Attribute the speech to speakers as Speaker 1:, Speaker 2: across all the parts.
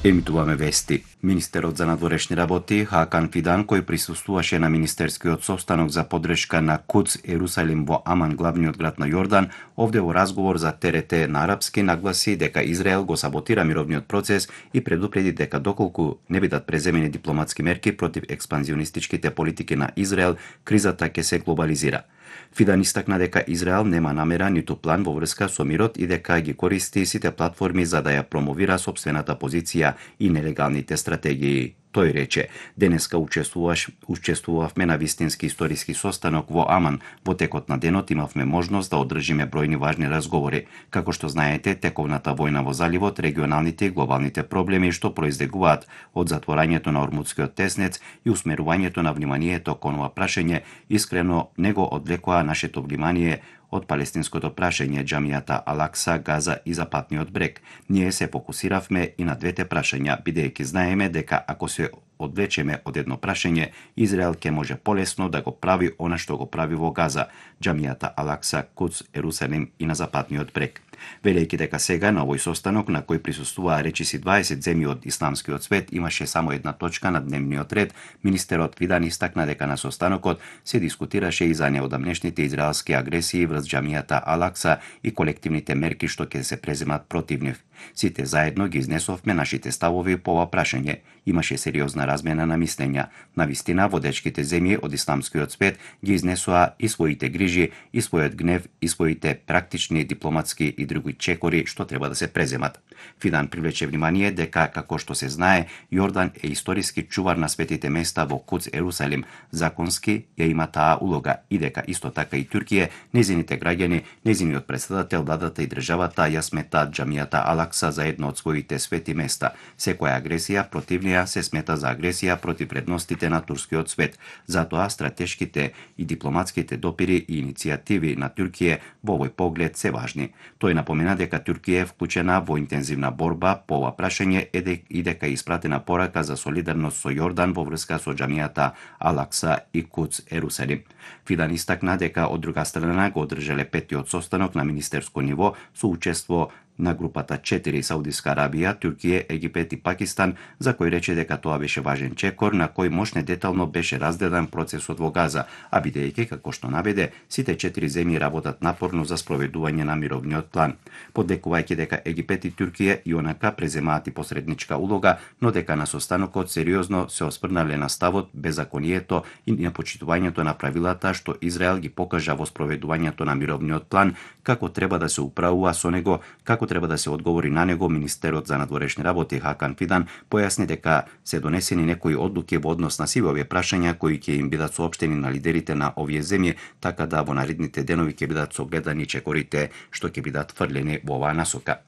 Speaker 1: Емитуваме вести. Министерот за надворешни работи Хакан Фидан, кој присуствуваше на министерскиот состанок за поддршка на Куц Ерусалим во Аман, главниот град на Јордан, овде во разговор за ТРТ на арапски нагласи дека Израел го саботира мировниот процес и предупреди дека доколку не бидат преземени дипломатски мерки против експанзионистичките политики на Израел, кризата ќе се глобализира. Фидан истакна дека Израел нема намера ниту план во врска со мирот и дека ги користи сите платформи за да ја промовира сопствената позиција и нелегалните стратегии. Тој рече: денеска учествувавме на вистински историски состанок во Аман. Во текот на денот имавме можност да одржиме бројни важни разговори. Како што знаете, тековната војна во заливот, регионалните и глобалните проблеми што произлегуваат од затворањето на Ормудскиот теснец и усмерувањето на вниманието кон ова прашање, искрено не го одвлекоа нашето внимание од палестинското прашање, џамијата Ал-Акса, Газа и Западниот брег. Ние се фокусиравме и на двете прашања, бидејќи знаеме дека ако се одвлечеме од едно прашање, Израел ќе може полесно да го прави она што го прави во Газа, џамијата Ал-Акса, Куц, Ерусалим и на Западниот брег. Велејќи дека сега на овој состанок на кој присуствуваа речиси 20 земји од исламскиот свет имаше само една точка на дневниот ред, министерот Фидан истакна дека на состанокот се дискутираше и за неодамнешните израелски агресии врз џамијата Ал-Акса и колективните мерки што ќе се преземат против нив. Сите заедно ги изнесовме нашите ставови по ова прашање. Имаше сериозна размена на мислења. Навистина, водечките земји од исламскиот свет ги изнесоа и своите грижи, и својот гнев, и своите практични, дипломатски и други чекори што треба да се преземат. Фидан привлече внимание дека, како што се знае, Јордан е историски чувар на светите места во Куц Ерусалим, законски ја има таа улога и дека исто така и Туркија, незините граѓани, незиниот претседател, владата и државата ја сметаат џамијата Ал-Акса за едно од своите свети места. Секоја агресија против неа се смета за агресија против вредностите на турскиот свет. Затоа стратешките и дипломатските допири и иницијативи на Туркија во овој поглед се важни. Тој напомена дека Туркија е вклучена во интензивна борба по ова прашање и дека е испратена порака за солидарност со Јордан во врска со џамијата Ал-Акса и Куц Ерусалим. Фидан истакна дека од друга страна го одржале петтиот состанок на министерско ниво со учество на групата 4 Саудиска Арабија, Туркија, Египет и Пакистан, за кој рече дека тоа беше важен чекор на кој мощне детално беше разгледан процесот во Газа, а бидејќи, како што наведе, сите 4 земји работат напорно за спроведување на мировниот план. Подекувајќи дека Египет и Туркија и онака преземаат и посредничка улога, но дека на состанокот сериозно се осврнале на ставот, беззаконието и непочитувањето на правилата што Израел ги покажа во спроведувањето на мировниот план, како треба да се управува со него, како треба да се одговори на него. Министерот за надворешни работи Хакан Фидан појасни дека се донесени некои одлуки во однос на сиве овие прашања кои ќе им бидат соопштени на лидерите на овие земји, така да во наредните денови ќе бидат согледани чекорите што ќе бидат фрлени во оваа насока.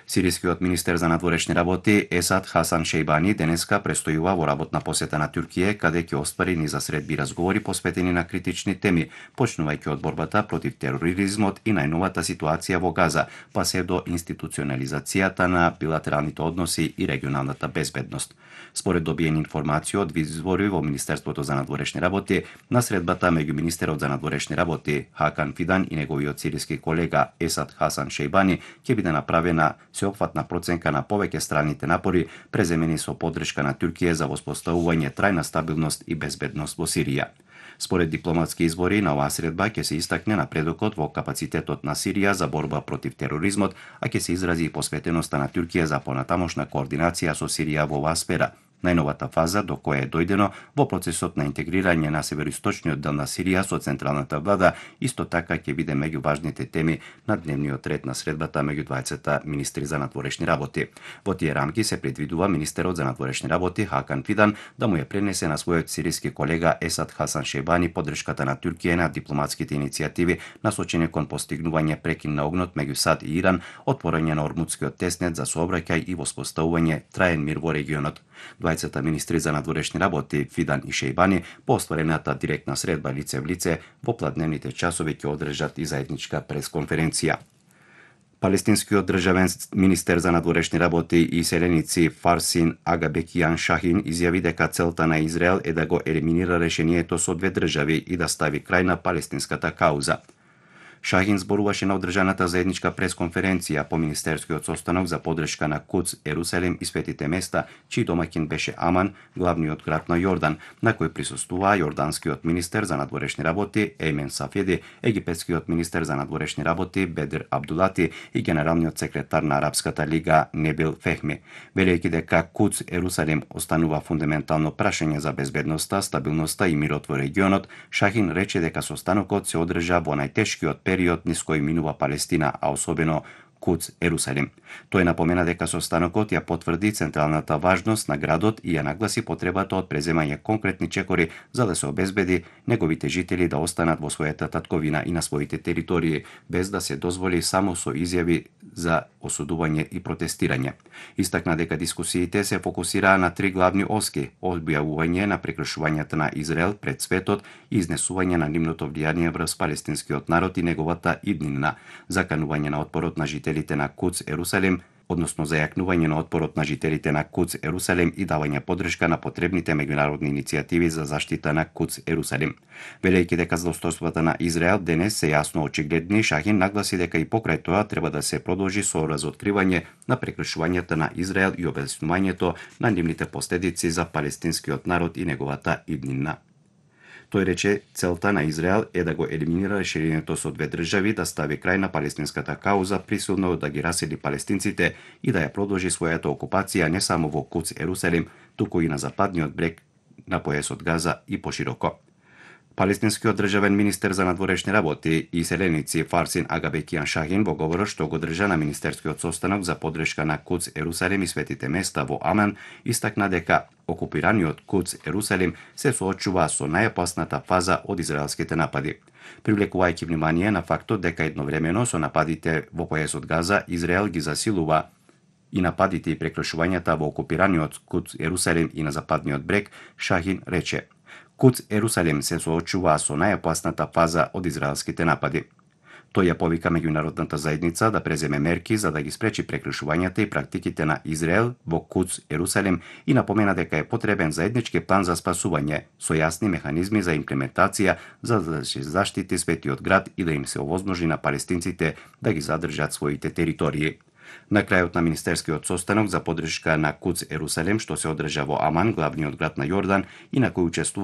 Speaker 1: Сирискиот министер за надворешни работи Есад Хасан Шејбани денеска престојува во работна посета на Туркија, каде ќе оствари низа средби разговори посветени на критични теми, почнувајќи од борбата против тероризмот и најновата ситуација во Газа, па се до институционализацијата на билатералните односи и регионалната безбедност. Според добиени информации од извори во Министерството за надворешни работи, на средбата меѓу министерот за надворешни работи Хакан Фидан и неговиот сириски колега Есад Хасан Шејбани ќе биде направена сеопфатна проценка на повеќе страните напори преземени со поддршка на Туркија за воспоставување трајна стабилност и безбедност во Сирија. Според дипломатски извори, на оваа средба ќе се истакне напредокот во капацитетот на Сирија за борба против тероризмот, а ќе се изрази и посветеноста на Туркија за понатамошна координација со Сирија во оваа сфера. Најновата фаза до која е дојдено во процесот на интегрирање на североисточниот дел на Сирија со централната влада, исто така ќе биде меѓу важните теми на дневниот ред на средбата меѓу двајцата министри за надворешни работи. Во тие рамки се предвидува министерот за надворешни работи Хакан Фидан да му ја пренесе на својот сириски колега Есад Хасан Шејбани поддршката на Туркија на дипломатските иницијативи насочени кон постигнување прекин на огнот меѓу САД и Иран, отворање на Ормудскиот теснет за сообраќај и воспоставување траен мир во регионот. Двајцата министри за надворешни работи Фидан и Шејбани по остварената директна средба лице в лице во пладневните часови ќе одржат и заедничка пресконференција. Палестинскиот државен министер за надворешни работи и селеници Фарсин Агабекијан Шахин изјави дека целта на Израел е да го елиминира решението со две држави и да стави крај на палестинската кауза. Шахин зборуваше на одржаната заедничка пресконференција по министерскиот состанок за поддршка на Кудс, Ерусалим и светите места, чиј домаќин беше Аман, главниот град на Јордан, на кој присуствуваа јорданскиот министер за надворешни работи Еймен Сафеди, египетскиот министер за надворешни работи Бедр Абдулати и генералниот секретар на Арапската лига Небил Фехми, велејќи дека Кудс, Ерусалим останува фундаментално прашање за безбедноста, стабилноста и мирот во регионот. Шахин рече дека состанокот се одржа во најтешкиот период низ кој минува Палестина, а особено Кудс, Ерусалим. Тој напомена дека состанокот ја потврди централната важност на градот и ја нагласи потребата од преземање конкретни чекори за да се обезбеди неговите жители да останат во својата татковина и на своите територии, без да се дозволи само со изјави за осудување и протестирање. Истакна дека дискусиите се фокусираа на три главни оски: објавување на прекршувањата на Израел пред светот и изнесување на нивното влијание врз палестинскиот народ и неговата иднина, заканување на отпорот на жителите на Кудс, Ерусалим, односно зајакнување на отпорот на жителите на Кудс, Ерусалим и давање поддршка на потребните меѓународни иницијативи за заштита на Кудс, Ерусалим. Велејќи дека злостојствата на Израел денес се јасно очигледни, Шахин нагласи дека и покрај тоа треба да се продолжи со разоткривање на прекршувањата на Израел и објаснувањето на нивните последици за палестинскиот народ и неговата иднина. Тој рече целта на Израел е да го елиминира решението со две држави, да стави крај на палестинската кауза, присилно да ги расели палестинците и да ја продолжи својата окупација не само во Кудс, Ерусалим, туку и на западниот брег на појасот Газа и пошироко. Палестинскиот државен министер за надворешни работи и селеници Фарсин Агабекијан Шахин во говорот што го држа на министерскиот состанок за поддршка на Кудс, Ерусалим и светите места во Аман, истакна дека окупираниот Кудс, Ерусалим се соочува со најопасната фаза од израелските напади, привлекувајќи внимание на фактот дека едновремено со нападите во појасот Газа Израел ги засилува и нападите и прекршувањата во окупираниот Кудс, Ерусалим и на западниот брег. Шахин рече: Кудс, Ерусалим се соочуваа со најопасната фаза од израелските напади. Тој ја повика меѓународната заедница да преземе мерки за да ги спречи прекршувањата и практиките на Израел во Кудс, Ерусалим и напомена дека е потребен заеднички план за спасување со јасни механизми за имплементација за да се заштити светиот град и да им се овозможи на палестинците да ги задржат своите територии. На крајот на министерскиот состанок за поддршка на Кудс, Ерусалим, што се одржа во Аман, главниот град на Јордан, и на кој учествува